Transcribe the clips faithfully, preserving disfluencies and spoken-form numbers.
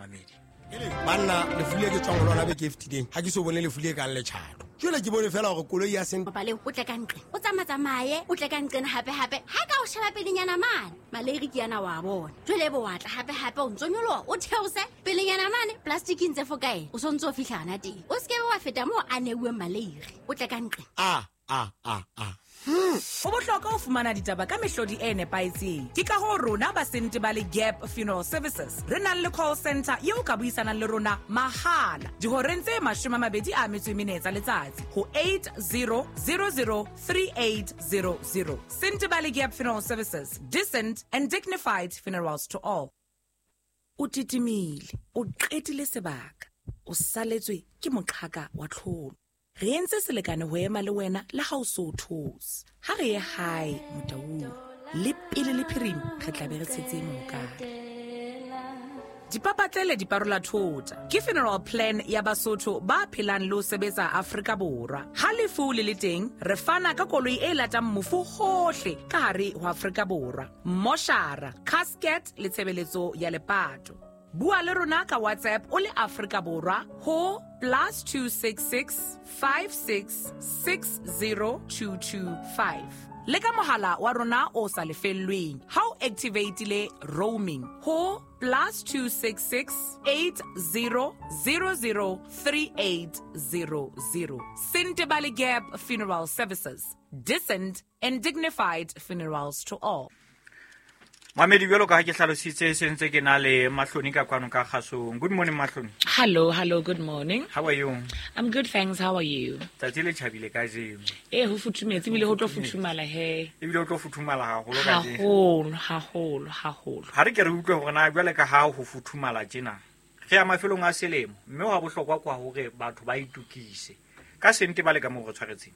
Momamedi, banna, lefu le ke tswang ho lona beke e fetileng, ha ke so bone lefu le kang letjhato. Jwale ke bone feela hore koloi ya seng Bopaleo, o tle ka nqe, o tsamatsamaye, o tle ka nqena hape-hape. Ha ka o sheba pelenyana mane, maleiri ke yana wa bona. Jwale ebe wa tla hape-hape, o ntso nyoloha, o theose pelenyana mane, plasticing tse fokae, o so ntso o fihla hana teng. O se ke be wa feta moo a neuweng maleiri, o tle ka nqe. A a a a Ho bohlokwa ho fumana ditaba ka mehlodi e nepahetseng. Ke ka hoo rona ba Sentebale Gap Funeral Services re nang le call center eo o ka buisanang le rona mahala dihoreng tse mashome a mabedi a metso e mene tsa letsatsi ho eight zero zero zero three eight zero zero. Sentebale Gap Funeral Services, decent and dignified funerals to all. O titimile, o qetile sebaka, o saletswe ke moqhaka wa tlholo. Re entse selekane ho ema le wena le ha o so o thotse. Ha re ye hae Motaung, le pele le phirima re tla be re tshetse mohokare. Dipapatlele di parola thota ke funeral plan ya Basotho ba phelang le ho sebetsa Afrika Borwa. Ha lefu le le teng, re fana ka koloi e latang mofu hohle ka hare ho Afrika Borwa, moshara, casket le tshebeletso ya lepato. Bua le rona ka WhatsApp o le Afrika Borwa ho plus two six six five six six zero two two five, le ka mohala wa rona o sa lefellweng ha o activatile roaming ho plus two six six eight zero zero zero three eight zero zero. Sentebale Gap Funeral Services, decent and dignified funerals to all. Mamedi, jwalo ka ha ke hlalositse, se ntse ke na le Mahloni ka kwano ka kgasong. Good morning, Mahloni. Hello, hello, good morning. How are you? I'm good, thanks. How are you? Tsatsi le tjhabile kajeno. Eh, ho futhumetse ebile ho tlo futhumala he. Ebile o tlo futhumala haholo kajeno. Haholo, haholo, haholo. Ha re ke re utlwe hore na jwale ka ha ho futhumala tjena, re ya mafelong a selemo, mme wa bohlokwa kwa hore batho ba itukise ka sente ba le ka moo re tshwaretseng.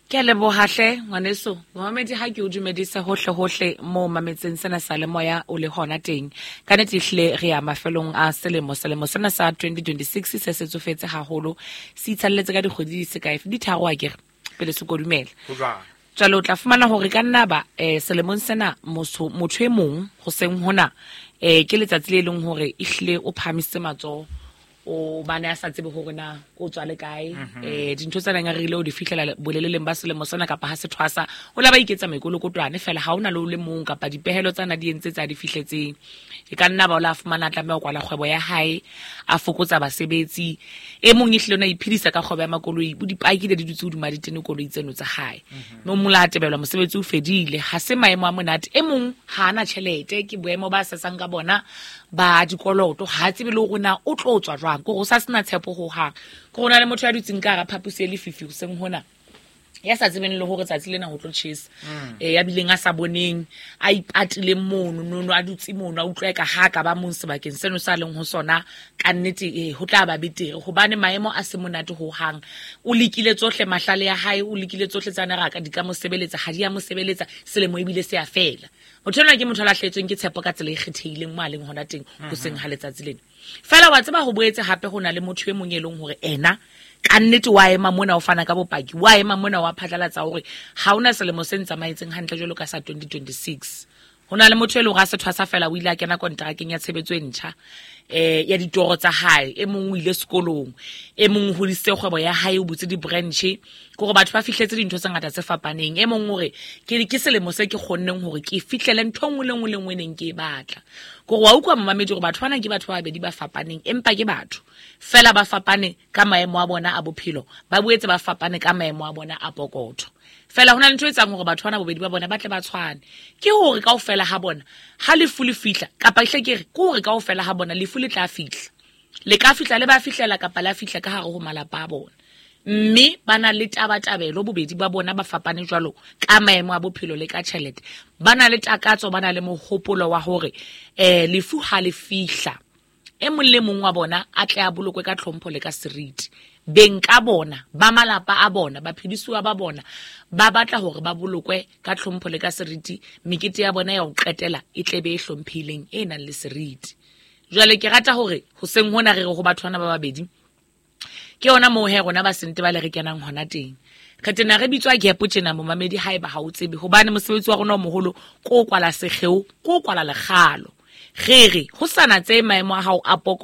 Ke a leboha hle ngwaneso. Momamedi, ha ke o dumedise hohle hohle mo mametseng sena sa le moya o le hona teng. Ka nnete ehlile re ya mafelong a selemo. Selemo sena sa twenty twenty-six se se tsofetse haholo. Se itshalletse ka dikgwedi di se kae, di tharo akere pele se kodumela. Ho jwalo. Jwale o tla fumana hore ka nna ba eh selemong sena motho motho e mong hoseng hona eh ke letsatsi le leng hore ehlile o phahamisitse matsoho, o bane a sa tsebe hore na o tswa le kae, eh dintho tsa nang a rerile o di fihlela boleleleng ba selemo sena kapa ha se thwasa, o la ba iketsa mekolokotwane fela, ha ona le o le mong kapa dipehelo tsana di entse tsa di fihletseng. E ka nna ba o la fumana a tlameha ho kwala kgwebo ya hae, a fokotsa basebetsi. E mong ehlile o na iphedisa ka kgwebo ya makoloi, o dipakile di dutse hodima ditene koloi tseno tsa hae, mme o mong la tebelwa mosebetsi o fedile. Ha se maemo a monate. E mong ha ana tjhelete, ke boemo ba sesang ka bona ba dikoloto, ha tsebe le hore na o tlo tswa jwang, ke hore o sa sena tshepo hohang. Ke hore ho na le motho ya dutseng ka hara phaposi e lefifi hoseng hona, ya sa tsebeng le hore tsatsi lena ho tlo tjhesa, eh ya bileng a sa boneng, a ipatileng mono nono, a dutse mono, a utlwa ka ha ka ba mong sebakeng seno sa leng ho sona. Ka nnete eh ho tla ba betere hobane maemo a se monate hohang. O lekile tsohle mahlale ya hae, o lekile tsohle tsa ne raka di ka mo sebeletsa, ha di a mo sebeletsa. Selemo ebile se a fela. Motho enwa ke motho a lahlehetsweng ke tshepo ka tsela e kgethehileng mo a leng hona teng hoseng ha letsatsi lena. Fela wa tseba, ho boetse hape ho na le motho e mong e leng hore ena ka nnete wa ema mona, o fana ka bopaki, wa ema mona, wa phatlalatsa hore ha hona selemo se ntsamaetseng hantle jwalo ka sa twenty twenty-six. Ho na le motho e leng hore a se thwasa fela, o ile a kena kontrakeng ya tshebetso e ntjha eh ya ditoro tsa hae. E mong o ile sekolong, e mong o hodisitse kgwebo ya hae, o butse di-branch, ke hore batho ba fihletse dintho tse ngata tse fapaneng. E mong hore ke ke selemo se ke kgonneng hore ke fihlele ntho e nngwe le nngwe le nngwe e neng ke e batla. Ke hore wa utlwa, momamedi, hore batho bana ke batho ba babedi ba fapaneng, empa ke batho fela, ba fapane ka maemo a bona a bophelo, ba boetse ba fapane ka maemo a bona a pokotho. Fela hona le ntho e etsang hore batho bana bobedi ba bona ba tle ba tshwane, ke hore kaofela ha bona ha lefu le fihla, kapa hle ke re ke hore kaofela ha bona lefu le tla fihla, le ka fihla, le ba fihlela kapa la fihla ka hare ho malapa a bona, mme ba na le tabatabelo bobedi ba bona, ba fapane jwalo ka maemo a bophelo le ka tjhelete, ba na le takatso, ba na le mohopolo wa hore eh lefu ha le fihla, e mong le mong wa bona a tle a bolokwe ka tlhompho le ka seriti. Beng ka bona ba malapa a bona, baphedisuwa ba bona, ba batla hore ba bolokwe ka tlhompho le ka seriti. Mekete ya bona ya ho qetela e tle be e hlomphehileng, e nang le seriti. Jwale ke rata hore hoseng hona re re ho batho bana ba babedi, ke yona moo he rona ba sente ba le re kenang hona teng. Re tena re bitswa Gap tjena, momamedi, haeba ha o tsebe, hobane mosebetsi wa rona o moholo ko kwala sekgeo, ko kwala lekgalo. Re re ho sana tse maemo a hao a poko.